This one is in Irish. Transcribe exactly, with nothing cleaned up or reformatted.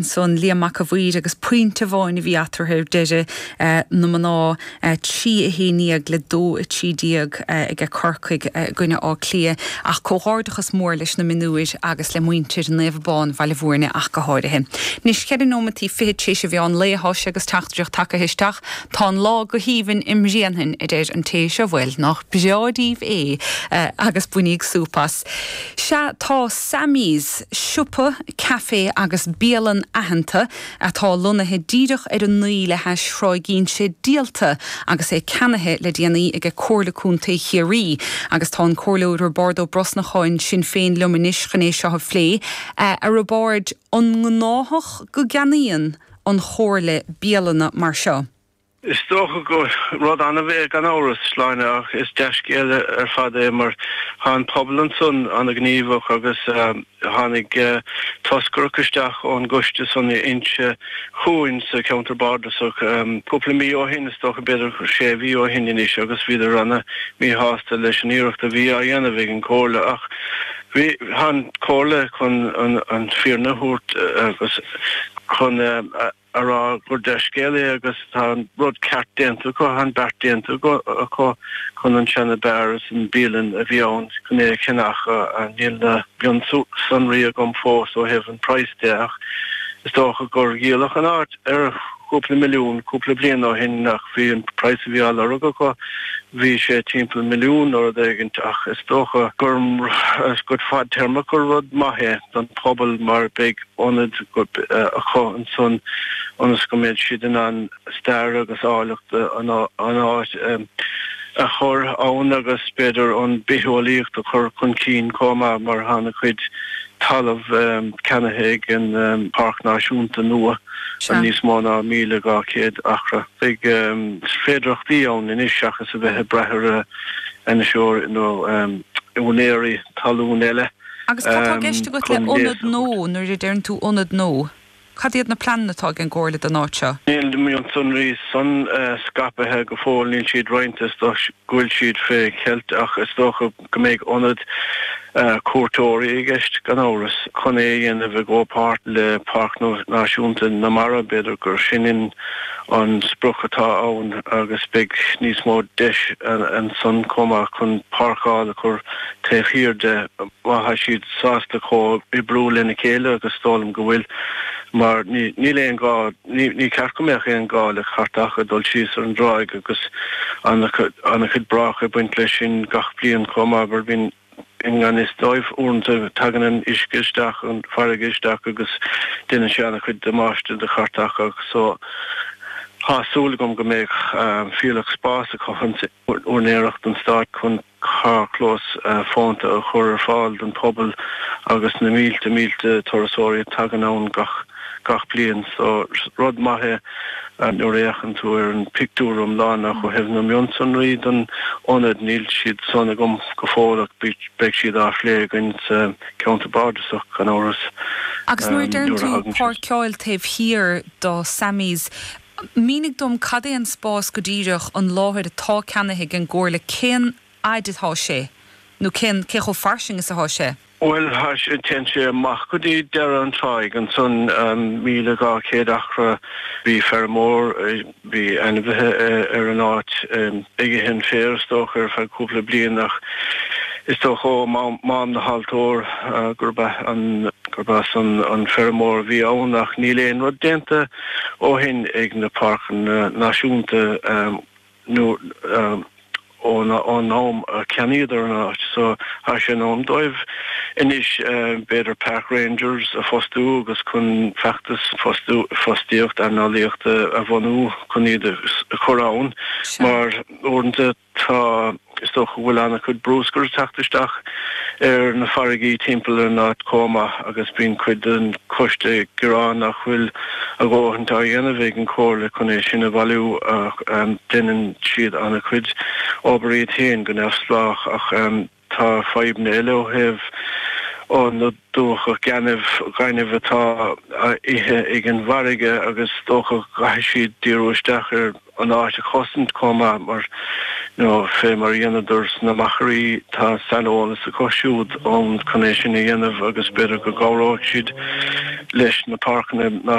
Ansan Liam Mac a' Mhaoir agus pointe amháin a bhí eatarthu ar deireadh na mná trí a haon déag le dó a trí déag aige Corcaigh i gcoinne Átha Cliath ach comhghairdeachas mór leis na mionúir agus le muintir Naomh Abán Bhaile Bhúirne ach go háirithe. Anois ceithre nóimeataí fiche tar éis an mheán lae atá sé agus teachtaireacht tagtha isteach tá an lá go haoibhinn i mBréanainn a deir an té seo bhuel nach breá daoibh é agus bainíg súp as. Sea tá Sammy's siopa, caife agus bialann aitheanta atá lonnaithe díreach ar an naoi le hais Thráigh Inse díolta agus é ceannaithe le déanaí ag Comhairle Contae Chiarraí agus tá an Comhairleoir Roibeárd Ó Brosnacháin Sinn Féin liom anois chun é seo a phlé a Roibeáird an gnáthach go gceannaíonn an Chomhairle bialanna mar seo. Is dócha go rud annamh é gan amhras Sláine ach is dea-scéal ar fad é mar tá an pobal ansan an-ghníomhach agus tháinig toscaireacht isteach ón gcoiste san Inse chugainn sa cheantar bardasach cúpla mí ó shin is dócha b'fhéidir sé mhí ó shin anois agus bhíodar an-mhíshásta leis an iarracht a bhí á dhéanamh ag an gComhairle ach bhí an Chomhairle chun an fírinne a thabhairt agus chun a rá gur dea-scéal é agus tá an rud ceart déanta acu, an beart déanta acu chun an seana-bheár is an bialann a bhí ann chun é a cheannach. Níl na mionsonraí agam fós ó thaobh an praghas de ach is dócha gur dhíoladh an áit ar chúpla milliún cúpla bliain ó shin ach bhí an praghas a bhí á lorg acu bhí sé timpeall milliún nó rud éigin ach is dócha gur go fadtéarmach gur rud maith é don phobal mar beidh ionad acu ansan ionas go mbeidh siad in ann stair agus áilleacht an áit a chur ann agus b'fhéidir an bitheolaíocht a chur chun cinn chomh maith mar tá an-chuid talamh ceannaithe ag an Páirc Náisiúnta nua níos mó ná míle dhá chéad acra. Beidh féidearthachtaí ann anois seachas a bheith ag brath ar ainniseoir nó úinéirí talún eile. Agus cad tá i gceist agat le ionad nua nuair a deireann tú ionad nua? Cad iad na pleananna atá ag an gComhairle don áit seo? Níl na mionsonraí san scaipthe go fóill, níl siad roinnte, is dócha go bhfuil siad fé cheilt ach is dócha go mbeidh ionad cuairteoirí i gceist gan amhras. Chun é a dhéanamh i gcomhpháirt le Páirc Náisiúnta na Mara, b'fhéidir gur sin an sprioc atá ann agus beidh níos mó deis ansan chomh maith chun páirceáil a chur taobh thiar de má tá siad sásta comhoibriú lena chéile agus is dóigh liom go bhfuil mar níl aon gá, ní ceart go mbeadh aon gá le cairteacha dul síos ar an dtráigh agus an-chuid brách ag baint leis sin gach bliain chomh maith mar bíonn i ngan fhios dóibh uaireanta tagann an uisce isteach, an farraige isteach agus déanann sé an-chuid damáiste do chairteacha so tá súil agam go mbeidh fuílleach spáis acu úinéireacht an stáit chun carrchlós fónta a chur ar fáil don phobal agus na mílte mílte turasóirí a tagann ann gach gach bliain. So rud maith é nuair a fhéachann tú ar an pictiúr iomlán ach ó thaobh na mionsonraí don ionad níl siad san agam go fóill ach beidh siad á phlé againn sa cheantar bardasach gan amhras. Agus nuair a deireann tú páirceáil taobh thiar do Sammy's, Mínigh dom cad é an spás go díreach, an láthair atá ceannaithe ag an gComhairle, cén fhaid atá sé nó cén, cé chomh fairsing is atá sé? Bhuel, tá sé, téann sé amach go dtí deireadh an tráigh ansan, míle dhá chéad acra. Bhí feirmeoir, bhí ainmhithe ar an áit ag ithe an féir is dócha ar feadh cúpla bliain ach is dócha ó Mám na hAltóir gurb ea an, gurb as an an feirmeoir a bhí ann ach níl aon rud déanta ó shin ag na páirceanna náisiúnta nó ón am a ceannaíodar an áit so tá sé in am dóibh anois b'fhéidir park rangers a fostú agus chun feachtas fostú fostaíocht eanálaíochta a bhunú chun iad a chur ann mar uaireanta Tá, is dócha go bhfuil an-chuid brúscair ag teacht isteach ar na farraigí timpeall ar an áit chomh maith agus bíonn cuid den choiste ag gearán nach bhfuil a dhóthain á dhéanamh ag an Chomhairle chun é sin a bhailiú ach déanann siad an-chuid obair iad féin go neamhspleách ach tá fadhbanna eile ó thaobh na dumhcha gainimh, gainimh atá á ithe ag an bhfarraige agus is dócha go gcaithfidh siad díriú isteach ar an áit a chosaint chomh maith mar you know, fé mar a dhéanadar sna machairí tá saineolas acu siúd ann chun é sin a dhéanamh agus b'fhéidir go gcabhróidh siad leis na páirceanna